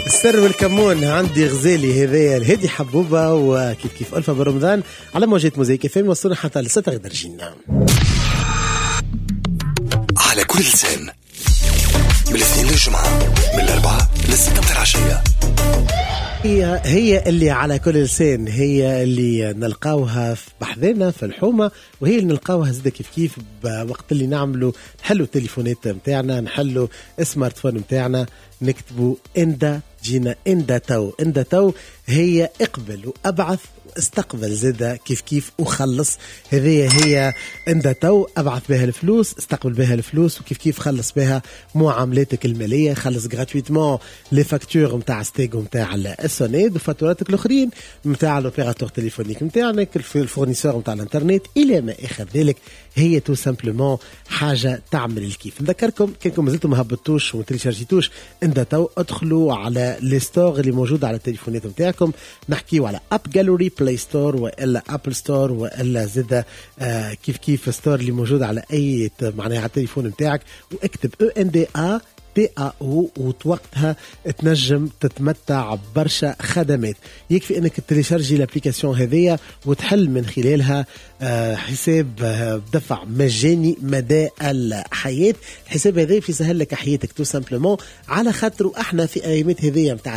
السر والكمون عندي غزالي، هذايا الهادي حبوبه وكيف كيف ألفة بن رمضان على موجات موزايك اف ام، وصلنا حتى ل6 درجين. على كل لسان من الاثنين للجمعة من 4 ل6 متاع العشية. هي هي اللي على كل لسان، هي اللي نلقاوها في بحذانا في الحومة، وهي اللي نلقاوها زادة كيف كيف وقت اللي نعملوا نحلوا التليفونات نتاعنا، نحلوا ال smartphone نتاعنا، نكتبوا اندا جينا اندا تو. اندا تو هي اقبل وابعث واستقبل زادة كيف كيف وخلص. هذه هي اندا تو، ابعث بها الفلوس، استقبل بها الفلوس، وكيف كيف خلص بها معاملاتك الماليه، خلص gratuitement les factures نتاع ستيغ نتاع السونيد وفاتوراتك الاخرين نتاع l'opérateur téléphonique نتاعنا، ال fournisseur نتاع الانترنت الى ما اخر ذلك. هي tout simplement حاجة تعمل الكيف. نذكركم كانكم مازلتم ما هبطتوش وما تيليشارجيتوش اندا تو، ادخلوا على les stores اللي موجودة على التليفونات نتاعكم، نحكيو على AppGallery، Play Store والا Apple Store والا زاده كيف كيف store اللي موجود على اي معناها على التليفون نتاعك، واكتب E N D A T A O، ووقتها تنجم تتمتع برشا خدمات. يكفي انك تليشارجي l'application هذيا وتحل من خلالها حساب دفع مجاني مدى الحياة. الحساب هذا في يسهل لك حياتك tout simplement، على خاطر احنا في ايامات هذيا نتاع